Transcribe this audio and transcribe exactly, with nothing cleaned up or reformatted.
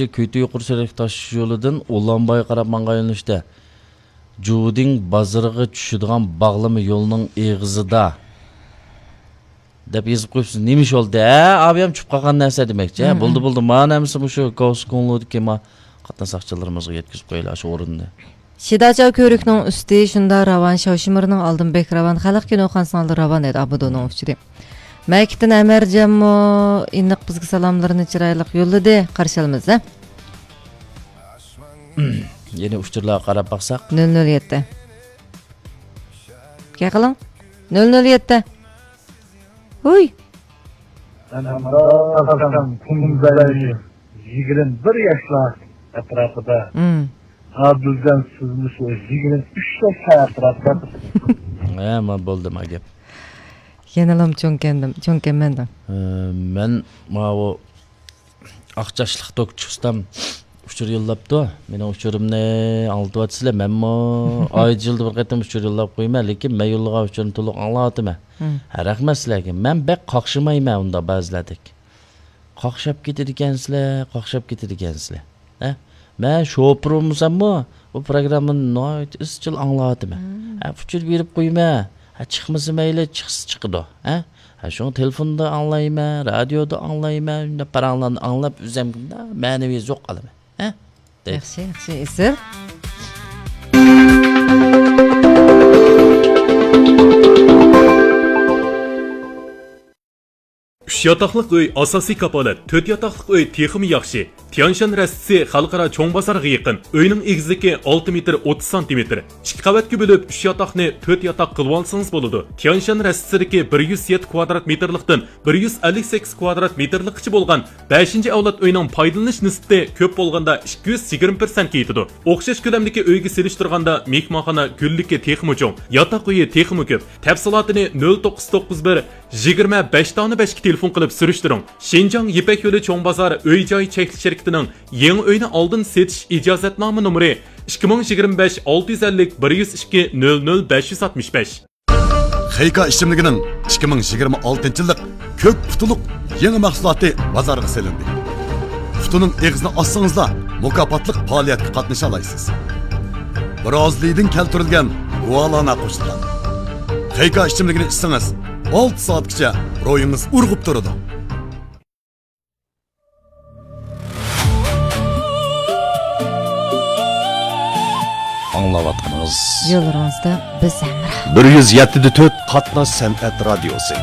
كۆيتۈ يۇقىرى سۈرئەتلىك تاش يولىدىن ئۇلانبايغا قاراپ ماڭغان يۆنىلىشتە جۇدىڭ بازىرىغا چۈشىدىغان باغلىما يولنىڭ ئېغىزىدا دەپ يېزىپ قويۇپسىز. نېمە ئىش بولدى؟ ھە، ئابىيام چۈشۈپ قالغان نەرسە دېمەكچى. ھە، بولدى، بولدى. مانا ھەممىسى مۇشۇ گاۋسكوڭلۇدىكى ما قاتناش ساقچىلىرىمىزغا يەتكۈزۈپ قويىلى، شۇ ئورۇننى. شىداچاۋ كۆۋرۈكنىڭ ئۈستى شۇنداق راۋان، شاۋشىمىرنىڭ ئالدىن بەك راۋان، خەلق كىنوخانىسىنىڭ ئالدى راۋان ئىدى، ئابىدۇنىڭ ئۇچۇرى. مەكىتتىن ئەمەرجانمۇ ئېنىق بىزگە سالاملىرىنى چىرايلىق يوللىدى، قارشى ئالىمىز، ھە؟ يەنە ئۇچۇرلارغا قاراپ باقساق. نۆل نۆل يەتتە. گەپ قىلىڭ. نۆل نۆل يەتتە. ھۇي. مەن ھەمراھ تاپسام كۈندۈزلەرنى يىگىرمە بىر ياشلار ئەتراپىدا. مم. ھازىردىن سىزمۇ شۇ يىگىرمە ئۈچ ياشلار ئەتراپىدا. ھە، ما بولدى ما گەپ. يەنىلا چوڭكەندىم، چوڭكەنمەن دەڭ. ئە، مەن ماۋۇ ئاق چاچلىق دوكچى ئۇستام ئۇچۇر يوللاپتۇ. مېنىڭ ئۇچۇرۇمنى ئاڭلىتىۋاتىسىلەر. مەنمۇ ئايدا يىلدا بىر قېتىم ئۇچۇر يوللاپ قويىمەن، لېكىن مەن يوللىغان ئۇچۇرنى تولۇق ئاڭلاۋاتىمەن. مم. ھە، رەھمەت سىلەرگە. مەن بەك قاقشىمايمەن ئۇنداق بەزىلەردەك. قاقشاپ كېتىدىكەنسىلەر، قاقشاپ كېتىدىكەنسىلەر. ھە؟ مەن شوپۇر بولمىساممۇ، بۇ پروگراممىنى ناھايىتى ئىزچىل ئاڭلاۋاتىمەن. مم. ھە، ئۇچۇر بېرىپ قويىمەن. ھە، چىقمىسا مەيلى، چىقسا چىقىدۇ. ھە؟ ھە، شۇڭا تېلېفوندا ئاڭلايمەن، رادىيودا ئاڭلايمەن، شۇنداق پاراڭلارنى ئاڭلاپ ئۆزۈمگە مەنىۋى زوق ئالىمەن. ھە؟ دەيدۇ. ياخشى، ياخشى، ئېسىل. ئۈچ ياتاقلىق ئۆي ئاساسىي كاپالەت، تۆت ياتاقلىق ئۆي تېخىمۇ ياخشى. تيانشان رەستىسى خەلقئارا چوڭ بازارغا يېقىن. ئۆينىڭ ئېگىزلىكى ئالتە مېتىر ئوتتۇز سانتىمېتىر. ئىككى قەۋەتكە بۆلۈپ، ئۈچ ياتاقنى تۆت ياتاق قىلىۋالسىڭىز بولىدۇ. تيانشان رەستىسىدىكى بىر يۈز يەتتە كۋادرات مېتىرلىقتىن بىر يۈز ئەللىك سەككىز كۋادرات مېتىرلىققىچە بولغان بەشىنچى ئەۋلاد ئۆينىڭ پايدىلىنىش نىسبىتى كۆپ بولغاندا ئىككى يۈز يىگىرمە پىرسەنتكە يېتىدۇ. ئوخشاش كۆلەمدىكى ئۆيگە سېلىشتۇرغاندا مېھمانخانا گۈللۈكى تېخىمۇ چوڭ، ياتاق ئۆيى تېخىمۇ كۆپ. تەپسىلاتىنى نۆل توققۇز توققۇز بىر، يىگىرمە بەش دانە بەشكە تېلېفون قىلىپ سۈرۈشتۈرۈڭ. شىنجاڭ يىپەك يولى چوڭ بازار ئۆي جاي چەكلىك شىركىتىنىڭ يېڭى ئۆينى ئالدىن سېتىش ئىجازەتنامە نومۇرى ئىككى مىڭ يىگىرمە بەش ئالتە يۈز ئەللىك بىر يۈز ئىككى نۆل نۆل بەش يۈز ئاتمىش بەش. خېيكا ئىچىملىكىنىڭ ئىككى مىڭ يىگىرمە ئالتىنچى يىللىق كۆك پۇتىلۇق يېڭى مەھسۇلاتى بازارغا سېلىندى. پۇتىنىڭ ئېغىزىنى ئاچسىڭىزلا، مۇكاپاتلىق پائالىيەتكە قاتنىشالايسىز. برازىلىيىدىن كەلتۈرۈلگەن گۇالانا قوشۇلغان. خېيكا ئىچىملىكىنى ئىچسىڭىز، ئالتە سائەتكىچە روھىڭىز ئۇرغۇپ تۇرىدۇ. ئاڭلاۋاتقىنىڭىز يوللىرىڭىزدا بىز ھەمراھ. بىر يۈز يەتتە دە تۆت قاتناش سەنئەت رادىيوسى.